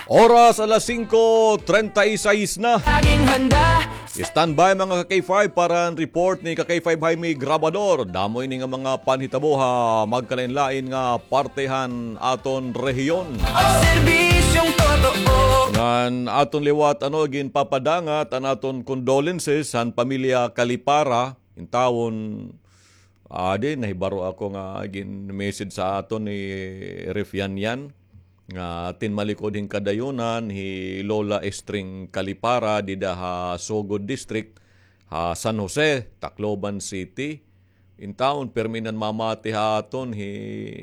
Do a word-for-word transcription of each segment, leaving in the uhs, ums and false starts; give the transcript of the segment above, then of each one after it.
Oras alas singko treinta y seis na. Laging handa. Standby, mga ka-K five, para an report ni ka-K five Jaime Grabador. Damo ini nga mga panhitabo ha magkalain-lain nga parte han aton rehiyon. Ang serbisyong totoo. Ngan aton liwat, ano, ginpapadangat an aton condolences han pamilya Kalipara. Intawon, adi, nahibaro ako nga gin-message sa aton ni Ref Yan Yan nga tinmalikod hin kadayunan hi Lola Estring Kalipara dida ha Sogod District, ha San Jose, Tacloban City. Intawon, pirmi nan mamati ha aton hi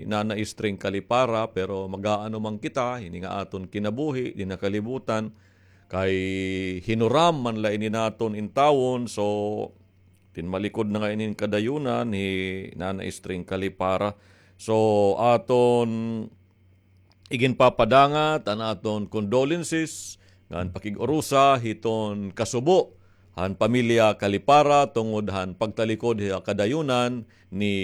Nana Estring Kalipara, pero mag-aano man kita, hini nga aton kinabuhi dinhi ha kalibutan, kay hinuram man la ini naton intawon. So, tinmalikod na nga ini hin kadayunan hi Nana Estring Kalipara. So, aton iginpapadangat an aton condolences ngan pakig-urusa hiton kasubo han pamilya Kalipara tungod han pagtalikod ha kadayunan ni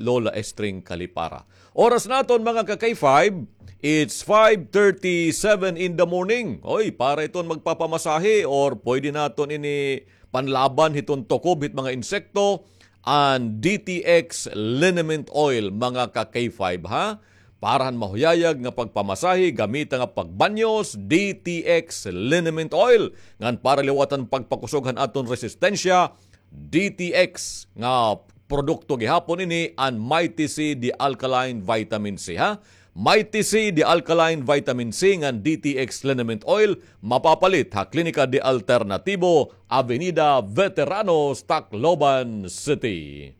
Lola Estring Kalipara. Oras naton, mga ka-K five, it's five thirty-seven in the morning. Oy, para iton magpapamasahe or pwede naton ini panlaban hiton tukob hit mga insekto, an D T X liniment oil, mga ka-K five, ha? Para han mahuyayag nga pagpamasahe, gamita nga pagbanyos, D T X liniment oil. Ngan para liwatan pagpakusog han aton resistensya, D T X nga produkto gihapon ini, an Mighty C de Alkaline Vitamin C, ha? Mighty C de Alkaline Vitamin C ngan D T X liniment oil, mapapalit ha Klinika de Alternatibo, Avenida Veteranos, Tacloban City.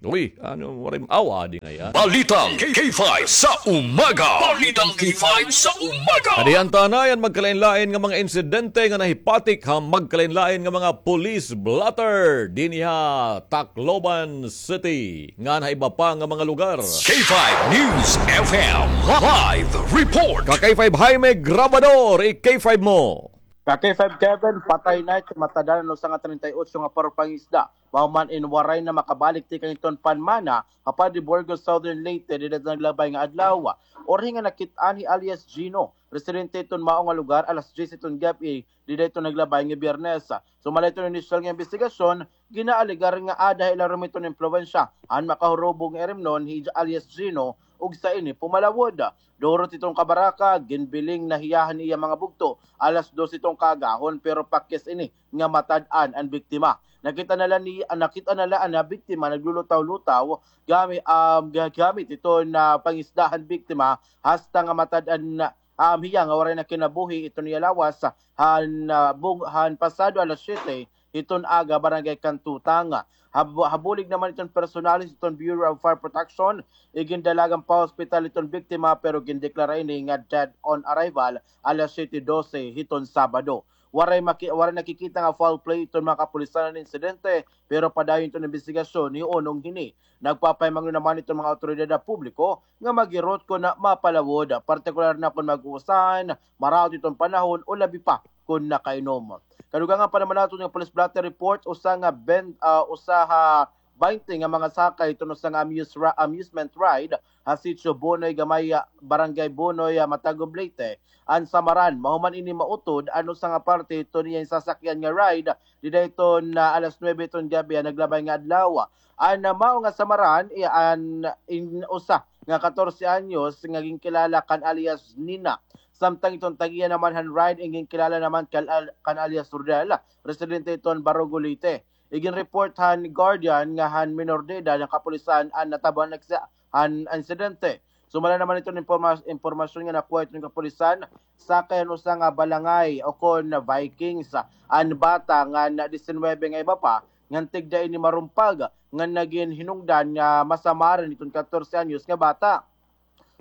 Uy, ano, waray, aw, adi ngay-an. Balitang K five sa umaga. Balitang K five sa umaga. Adi an tanay an magkalain-lain nga mga insidente nga nahipatik ha magkalain-lain nga mga police blotter dinhi ha Tacloban City ngan ha iba pa nga mga lugar. K five News F M live report. Ka-K five Jaime Grabador, i-K five mo. Ka-K five Kevin, patay na iton matad-an an usa nga treinta y ocho nga paro pangisda. Mahuman in waray na makabalik tikang iton panmana ha Padre Burgos, Southern Leyte, dida naglabay nga adlaw. Uri nga nakit-an hi alias Gino, residente iton mao nga lugar, alas diyes iton gab-i, dida iton naglabay nga Biyernes. Sumala iton inisyal nga imbestigasyon, ginaalegar nga ada ha ilarom iton impluwensya an makahurubog nga irimnon hi alias Gino, ug sa ini pumalawod. Durot iton kabaraka, ginbiling na hiya han iya mga bugto alas dos iton kaagahon, pero pakis ini nga matad-an an biktima. Nakita na la ni, nakita na la an biktima naglulutaw-lutaw gami-, um, ga-, gamit iton pangisda han biktima, hasta nga matad-an na, um, hiya nga waray na kinabuhi iton iya lawas han, ah, bug-, han pasado alas siyete hiton aga, Barangay Cantutang. Hab-, habulig naman iton personalis iton Bureau of Fire Protection, igindalagan pa hospital iton biktima, pero gindeklara ini nga dead on arrival alas siyete dose hiton Sabado. Waray maki-, waray nakikita nga foul play iton mga kapulisan han insidente, pero padayon iton imbestigasyon hiunong hini. Nagpapahimangno naman iton mga awtoridad ha publiko nga maghirot kon mapalawod, partikular na kon mag-uusahan, maraot iton panahon o labi pa kon nakainom. Kadugangan pa naman naton nga police blotter report, usa nga ben-, ah, usa ha baynte nga mga sakay iton usa nga amuse-, amusement ride ha Sitio Bonoy Gamay, ah, Barangay Bonoy, ah, Matagublete, an Samaran. Mahuman ini mautod an usa nga parte iton iya sasakyan nga ride dida iton, ah, alas nuwebe iton gab-i, ah, naglabay nga adlaw. An, ah, mao nga Samaran, iya an in usa nga katorse anyos nga ginkilala kan alias Nina. Samtang iton tag-iya naman han ride, iginkilala naman kal-, al-, kan alias Rodel, residente iton Barugo, Leyte. Iginreport han guardian nga han minor de edad han kapulisan an natabo han aksa-, han insidente. Sumala naman iton imporma-, impormasyon nga nakuha iton kapulisan, sakay han usa nga balangay o kon Vikings an bata ngan disinuybe nga iba pa, ngan tigda ini marumpag, ngan nagin hinungdan nga masamaran iton katorse anyos nga bata.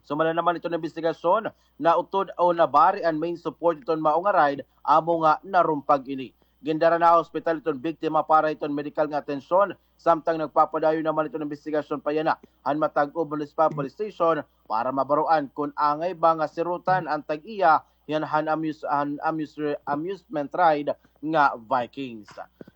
Sumala naman iton imbestigasyon, nautod o nabari an main support iton mao nga ride, amo nga narumpag ini. Gindara na ha ospital iton biktima para iton medikal nga atensyon, samtang nagpapadayon naman iton imbestigasyon pa yana han Matagublete Municipal Police Station para mabaroan kon angay ba nga sirutan an tag-iya Yan han amuse-, han amuse-, amusement ride nga Vikings.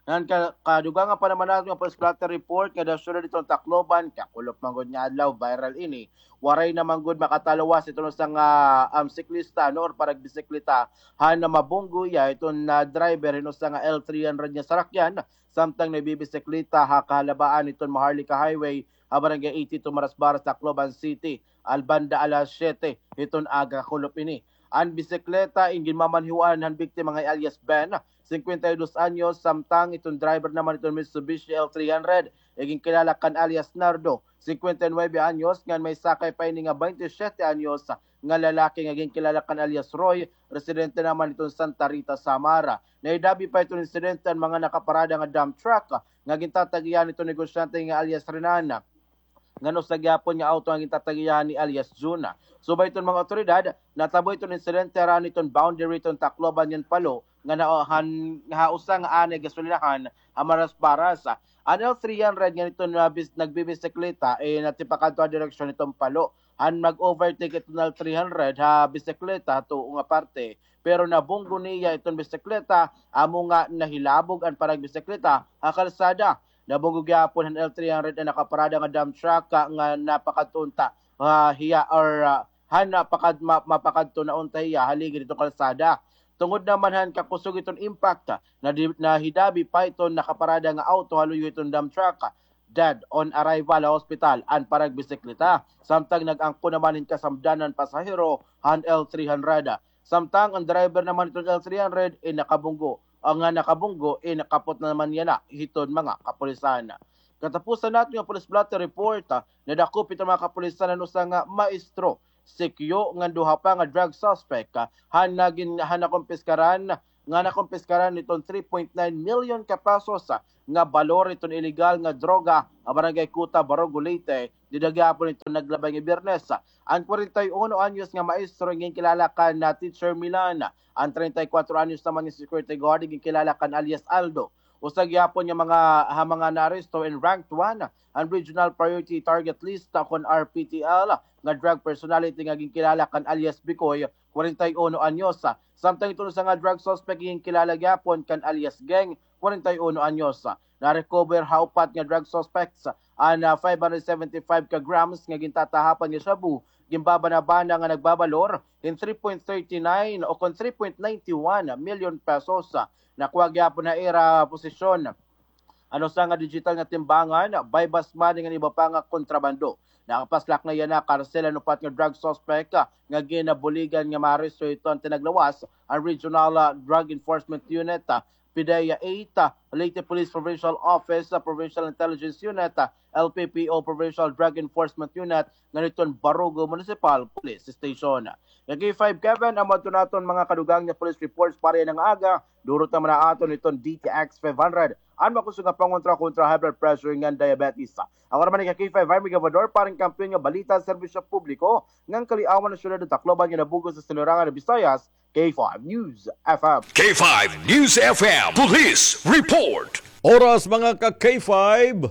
Nan ka-, kadugangan pa naman naton nga police blotter report nga da siyudad hiton Tacloban, kakulop man gud nga adlaw, viral ini. Waray naman gud makataluwas hiton usa nga, um, siklista, no, or paragbisikleta, han mabunggo hiya hiton, ah, driver hin usa nga L three hundred nga sarakyan, samtang nagbibisikleta ha kahalabaan hiton Maharlika Highway, ha Barangay eighty-two, Marasbaras, Tacloban City, al banda alas siyete hiton aga, kakulop ini. An bisikleta in ginmamanhiwan han biktima nga alias Ben, singkwenta y dos anyos, samtang iton driver naman iton Mitsubishi L three hundred, iginkilala kan alias Nardo, singkwenta y nuebe anyos, ngan may sakay pa ini nga baynte siyete anyos nga lalaki nga ginkilala kan alias Roy, residente naman iton Santa Rita, Samar. Nahidabi pa iton insidente an mga nakaparada nga dump truck nga gintatagihan iton negosyante nga alias Renan, ngan usa gihapon nga awto nga gintatagihan ni alias Jun. Subay iton mga awtoridad, natabo iton insidente harani iton boundary iton Tacloban ngan Palo, nga na-, han, ha usa nga anay gasolinahan ha Marasbaras. An L three hundred ngan iton, ah, bis-, nagbibisikleta, eh, natipakadto ha direksyon hiton Palo. Han mag-overtake iton L three hundred ha bisikleta ha tuo nga parte, pero nabunggo niya iton bisikleta, amo nga nahilabog an paragbisikleta ha kalsada. Nabunggo gihapon han L three hundred an nakaparada nga dump truck, ah, nga napakadto unta, ah, hiya or, ah, han napakad-, ma-, mapakadto na unta hiya ha ligid hiton kalsada. Tungod naman han kakusog hiton impact, nadi-, nahidabi pa iton nakaparada nga awto ha luyo hiton dump truck. Dead on arrival ha ospital an paragbisikleta, samtang nag-angkon naman hin kasamdanan pasahero han L three hundred. Samtang an driver naman hiton L three hundred in nakabunggo, an nga nakabunggo in nakapot naman yana hiton mga kapulisan. Katapusan naton nga police blotter report, ah, nadakop hiton mga kapulisan an usa nga maestro, sikyo ngan duha pa nga drug suspect, ah, han nagin-, han nakumpiskaran, nga nakumpiskaran hiton three point nine million ka pesos, ah, nga balor hiton iligal nga droga ha Barangay Cuta, Barugo, Leyte, dida gihapon hiton naglabay nga Biyernes. An kwarenta y uno anyos nga maestro ginkilala kan, ah, Teacher Milan. An treinta y cuatro anyos naman nga security guard ginkilala kan alias Aldo. Usa gihapon nga mga, ha mga naaresto in ranked one an Regional Priority Target List, ah, kon R P T L, nga drug personality nga ginkilala kan alias Bikoy, kwarenta y uno anyos. Samtang iton usa nga drug suspect ginkilala gihapon kan alias Geng, kwarenta y uno anyos. Na-recover ha upat nga drug suspects an, ah, five hundred seventy-five ka grams nga gintatahapan nga shabu, ginbabana-bana nga nagbabalor hin three point thirty-nine o kon three point ninety-one million pesos. Nakuha gihapon ha ira posisyon an usa nga digital nga timbangan, buy-bust money ngan iba pa nga kontrabando. Nakapaslak na yana karsel an upat nga drug suspect, ah, nga ginabuligan nga maaresto hiton tinaglawas an Regional, ah, Drug Enforcement Unit, ah, PDEA eight, ah, Leyte Police Provincial Office, ah, Provincial Intelligence Unit, ah, L P P O Provincial Drug Enforcement Unit, ngan hiton Barugo Municipal Police Station. Nga K five Kevin, amo adto naton mga kadugang nga police reports para yana nga aga. Durot naman ha aton hiton D T X five hundred an makusog nga pangontra kontra high blood pressure ngan diabetes. Ako naman ika K five Jaime Gabador para han kampiyon nga balita, serbisyo publiko ngan kaliawan han syudad han Tacloban ngan han bug-os nga Sinirangan han Visayas, K five News F M. K five News F M Police Report. Oras, mga ka K five,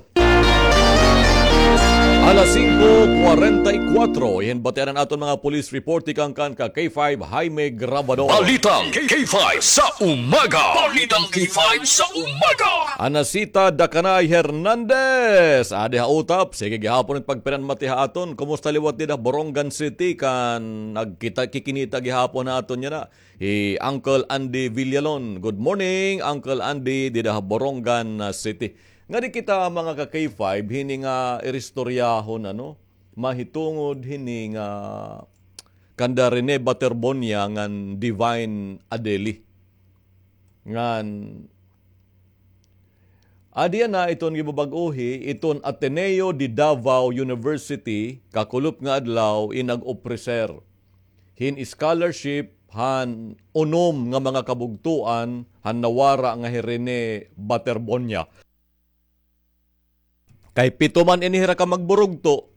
alas singko kwarenta y kuwatro. Iyan batian an aton mga police report tikang kan ka K five Jaime Grabador. Balitang K five sa umaga. Balitang K five sa umaga. Anacita Dacanay Hernandez, adi ha utap. Sige gihapon it pagpinanmati ha aton. Kumusta liwat dida Borongan City? Kan nagkita-, kikinita gihapon ha aton yana hi Uncle Andy Villalon. Good morning, Uncle Andy, dida ha Borongan, ah, City. Ngadi kita, mga ka K five, hini nga iristoryahon, ano, mahitungod hini nga kanda Rene Baterbonia ngan Divine Adeli. Ngan adi na iton gibabag-ohi, iton Ateneo de Davao University, kakulop nga adlaw, in nag-opreser hin scholarship han unom nga mga kabugtoan han nawara nga hi Rene Baterbonia. Kay pito man ini hira ka magburugto,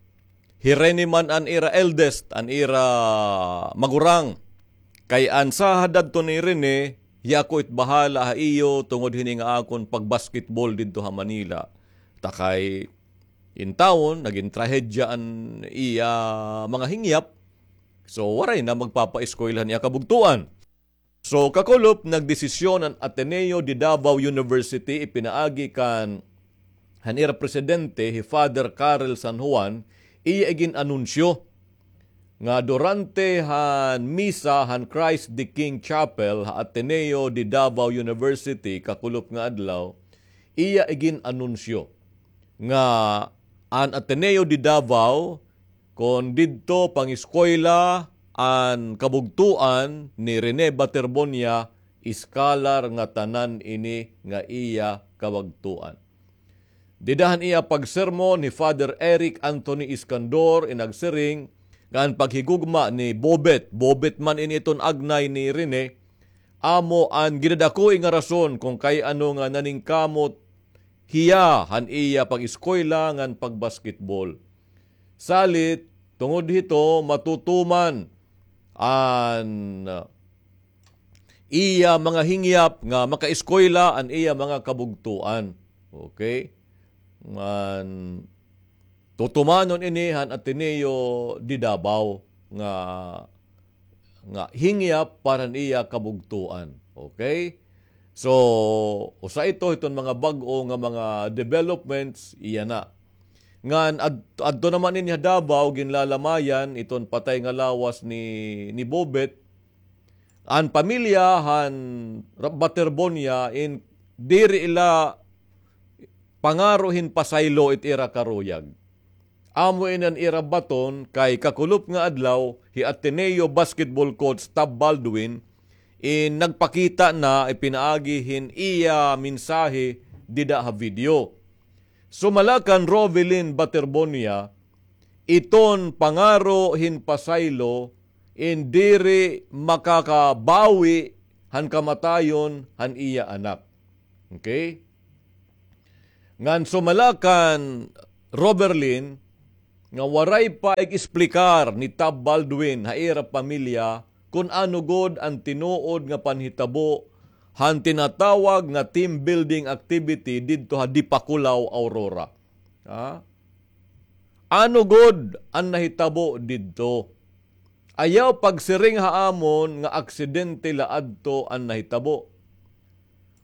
hi Rene man an ira eldest, an ira magurang. Kay an sahad adto ni Rene, hiya ko it bahala ha iyo tungod hini nga akon pag-basketball didto ha Manila. Ta kay intawon, nagin trahedya an iya mga hingyap, So, waray na magpapaeskwela han iya kabugtoan. So, kakulop, nagdesisyon an Ateneo de Davao University, ipinaagi kan han ira presidente, hi Father Karel San Juan, iya igin-anunsyo nga durante han misa han Christ the King Chapel ha Ateneo de Davao University kakulop nga adlaw, iya igin-anunsyo nga an Ateneo de Davao kon didto pangeskwela an kabugtoan ni Rene Baterbonia, iskalar ngatanan ini nga iya kabugtoan. Dida han iya pagsermon hi Father Eric Anthony Iskandor, in nagsiring nga an paghigugma ni Bobet, Bobet man ini iton agnay ni Rene, amo an gidadakoi nga rason kon kay ano nga naningkamot hiya han iya pag-eskwela ngan pag-basketball. Salit, tungod hito, matutuman an, ah, iya mga hingyap nga makaeskwela an iya mga kabugtoan. Okay? Ngan tutumanon ini han Ateneo de Davao nga, nga hingyap para han iya kabugtoan. Okay? So, usa ito hiton mga bag-o nga mga developments, iya na. Ngan ad-, adto naman ini ha Davao, ginlalamayan iton patay nga lawas ni, ni Bobet. An pamilya han Ra-, Baterbonia in diri ila pangaro hin pasaylo it ira karuyag. Amo ini an ira baton kay kakulop nga adlaw, hi Ateneo basketball coach Tab Baldwin in nagpakita na ipinaagi hin iya mensahe dida ha video. Sumala kan Rovelyn Baterbonia, iton pangaro hin pasaylo in diri makakabawi han kamatayon han iya anak. Okay? Ngan sumala kan Rovelyn nga waray pa ig-esplikar ni Tab Baldwin ha ira pamilya kon ano gud an tinuod nga panhitabo han tinatawag nga team building activity didto ha Dipakulaw, Aurora. Ha? Ano gud an nahitabo didto? Ayaw pagsiring ha amon nga aksidente la adto an nahitabo.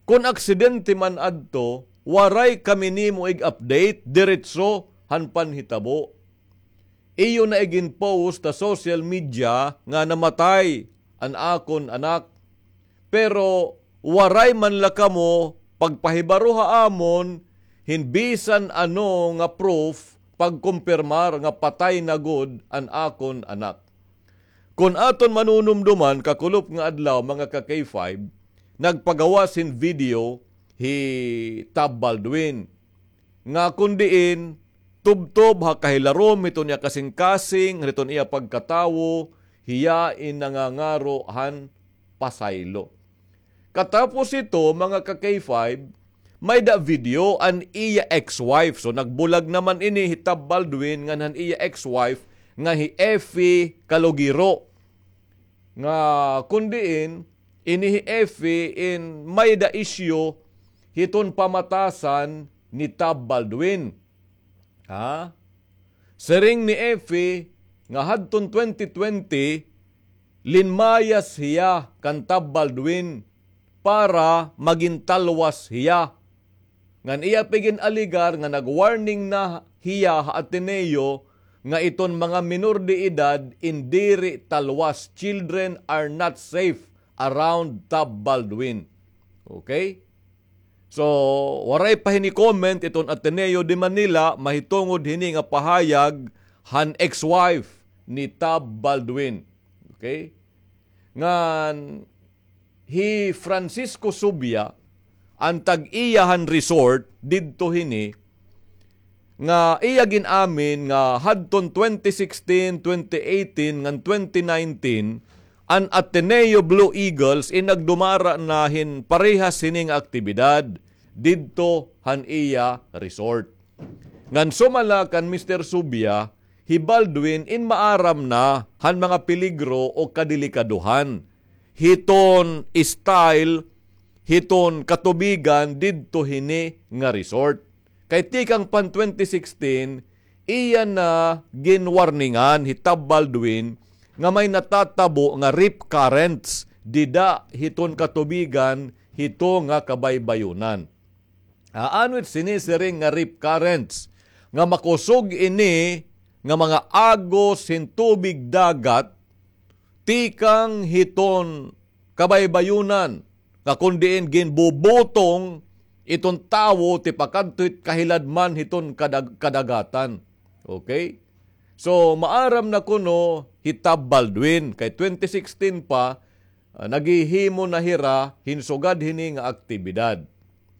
Kon aksidente man adto, waray kami nimo ig-update diretso han panhitabo. Iyo na igin-post ha social media nga namatay an akon anak. Pero waray man la kamo pagpahibaro ha amon hin bisan ano nga proof pagkumpirmar nga patay na gud an akon anak. Kon aton manunumduman, kakulop nga adlaw, mga ka-K five, nagpagawas hin video hi Tab Baldwin nga kon diin tubtob ha kahilarom hiton iya kasingkasing, hiton iya pagkatawo, hiya in nangangaro han pasaylo. Katapos hito, mga ka-K five, may-da video an iya ex-wife. So, nagbulag naman ini hi Tab Baldwin ngan han iya ex-wife nga hi Effie Calogero. Nga kon diin, ini hi Effie in may-da isyu hiton pamatasan ni Tab Baldwin. Ha? Siring ni Effie nga hadton twenty twenty, linmayas hiya kan Tab Baldwin para magin talwas hiya. Ngan iya pa igin-alegar nga nag-warning na hiya ha Ateneo nga iton mga minor de edad in diri talwas, children are not safe around Tab Baldwin. Okay? So, waray pa hini comment iton Ateneo de Manila mahitungod hini nga pahayag han ex-wife ni Tab Baldwin. Okay? Ngan hi Francisco Subia, an tag-iya han resort didto hini, nga iya gin-amin nga hadton twenty sixteen, twenty eighteen, ngan twenty nineteen, an Ateneo Blue Eagles in nagdumara na hin parehas hini nga aktibidad didto han iya resort. Ngan sumala kan Mister Subia, hi Baldwin in maaram na han mga peligro o kadelikadohan hiton style hiton katubigan didto hini nga resort. Kay tikang pan twenty sixteen, iya na ginwarningan hi Tab Baldwin nga may natatabo nga rip currents dida hiton katubigan hito nga kabaybayunan. Ano it sinisiring nga rip currents? Nga makusog ini nga mga agos hin tubig dagat tikang hiton kabaybayunan, nga kon diin ginbubutong iton tawo tipakadto hit kahiladman hiton kadag-, kadagatan. Okay? So, maaram na kuno hi Tab Baldwin, kay twenty sixteen pa, ah, naghihimo na hira hin sugad hini nga aktibidad.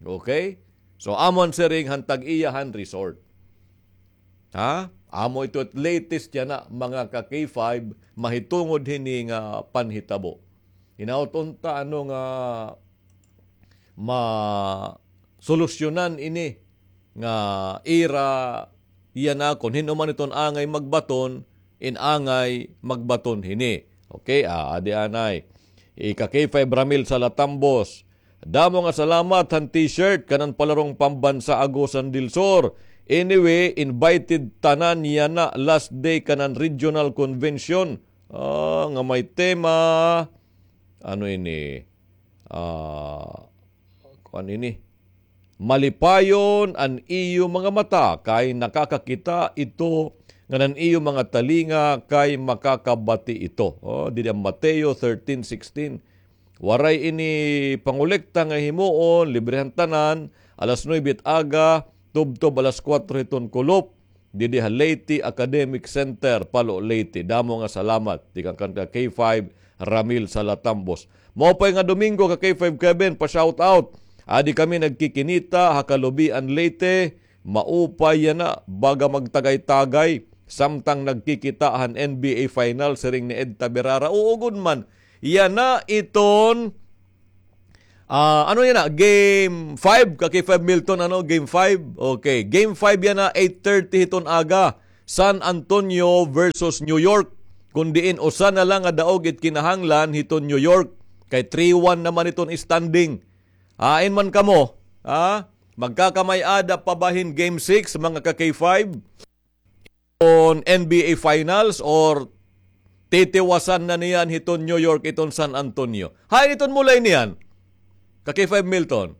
Okay? So, amo an siring han tag-iya han resort. Ha? Amo ito it latest yana, mga ka-K five, mahitungod hini nga panhitabo. Hinaot unta ano nga masolusyonan ini nga ira yana, kon hin-o man iton angay magbaton, in angay magbaton hini. Okay, ah, adi anay. Ika K five Ramil Salatambos. Damo nga salamat han t-shirt kanan palarong pambansa Agusan del Sur. Anyway, invited tanan yana last day kanan regional convention. Ah, nga may tema, ano ini? Ah, kuan ini. Malipayon an iyo mga mata kay nakakakita ito, ngan an iyo mga talinga kay makakabati ito. Oh, didi an Mateo thirteen sixteen. Waray ini pangolekta nga himuon, libre han tanan, alas nuebe it aga, tubtob alas kuwatro hiton kulop. Didi ha Leyte Academic Center, Palo, Leyte. Damo nga salamat. Tikang kan ka K five, Ramil Salatambos. Maupay nga Domingo ka K five Kevin, pa-shout out. Adi kami nagkikinita ha Calubian, Leyte. Maupay yana, baga magtagay-tagay. Samtang nagkikita han N B A final, siring ni Ed Taberara. Oo gud man. Yana iton Ah, ano yana? Game five, ka K five Milton, ano? Game five? Okay, game five yana, eight thirty hiton aga. San Antonio versus New York. Kon diin, usa na lang nga daog it kinahanglan hiton New York. Kay three one naman iton standing. Hain man kamo, ha? Magkakamay-ada pa ba hin game six, mga ka K five? Iton N B A Finals or titiwasan na niyan hiton New York iton San Antonio? Hain iton mulay niyan? Ka K five Milton.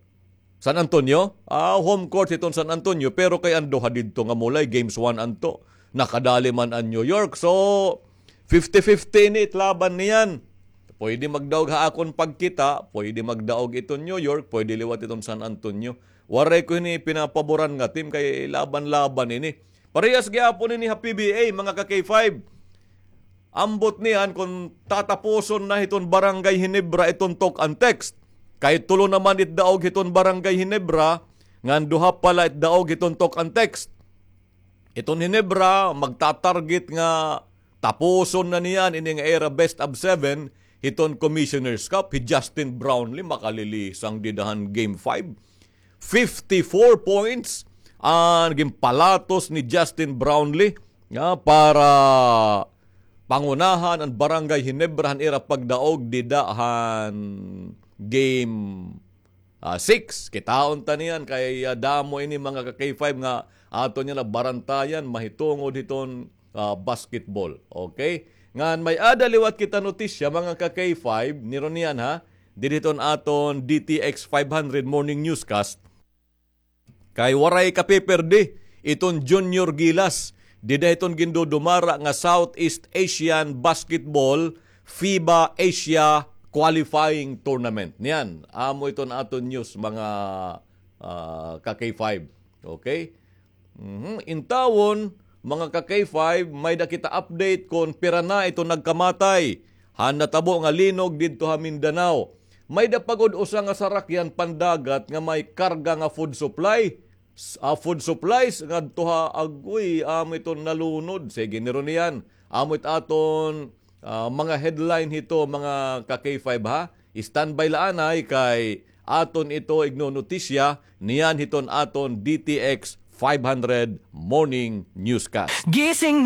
San Antonio? Ah, home court hiton San Antonio, pero kay an duha didto nga mulay, games one anto. Nakadali man an New York. So, fifty fifty ini it laban niyan. Pwede magdaog ha akon pagkita, pwede magdaog iton New York, pwede liwat iton San Antonio. Waray ko hini pinapaboran nga team kay laban-laban ini. Parehas gihapon ini ha P B A, mga ka K five. Ambot niyan kon tatapuson na hiton Barangay Ginebra iton talk and text. Kay tulo naman it daog hiton Barangay Ginebra, ngan duha pa la it daog hiton talk and text. Iton Ginebra, magta-target nga tapuson na niyan ini nga ira best of seven hiton Commissioner's Cup. Hi Justin Brownlee, makalilisang dida han game five. Fifty-four points an ginpalatos ni Justin Brownlee, nga para pangunahan an Barangay Ginebra han ira pagdaog dida han game, ah, six. Kitaon ta niyan kay, ah, damo ini, mga ka K five, nga aton niyan nabarantayan mahitungod hiton ah, basketball. Okay? Ngan may-ada liwat kita notisya, mga ka K five, niron niyan ha, didi hiton aton D T X five hundred morning newscast. Kay waray kapiperdi iton Junior Gilas, dida hiton gindudumara nga Southeast Asian Basketball FIBA Asia Qualifying Tournament. Niyan, amo iton aton news, mga, ah, ka K five. Okay? Mhm. Intawon, mga ka K five, may-da kita update kon pira na iton nagkamatay han natabo nga linog didto ha Mindanao. May-da pa gud usa nga sarakyan pandagat nga may karga nga food supply. S-, ah, food supplies ngadto ha, agoy, amo iton nalunod. Sige, niron niyan. Amo it aton ah, mga headline hito, mga ka K five, ha. Standby la anay kay aton ito ignonotisya niyan hiton aton D T X five hundred Morning Newscast. Gising na!